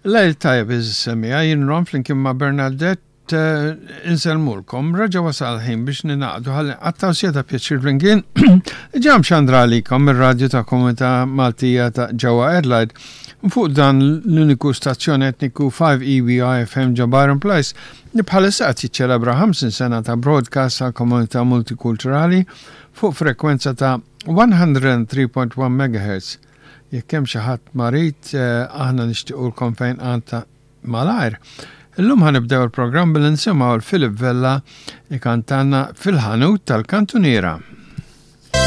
Lejl tajjeb għeżież semmiegħa, jien Ron flimkien ma' Bernadette insellmulkom. Reġa' wasal il-ħin biex ningħaqdu ħalli nqattgħu siegħa ta' pjaċir flimkien. Ġa mxandra għalikom mir-radju ta' Komunità Maltija ta' ġewwa Adelaide fuq dan l-uniku stazzjon etniku 5EBI FM ġo Byron Place li bħalissa qed jiċċelebra 50 sena ta' broadcast għall-komunità multikulturali fuq frekwenza ta' 103.1 MHz. Jekk hemm xi ħadd marid, aħna nixtiequlkom fejnqan ta' malajr. Illum ħa nibdew il-programm billi nisimgħu 'l Philip Vella ikantalna Fil-ħanut tal-kantuniera.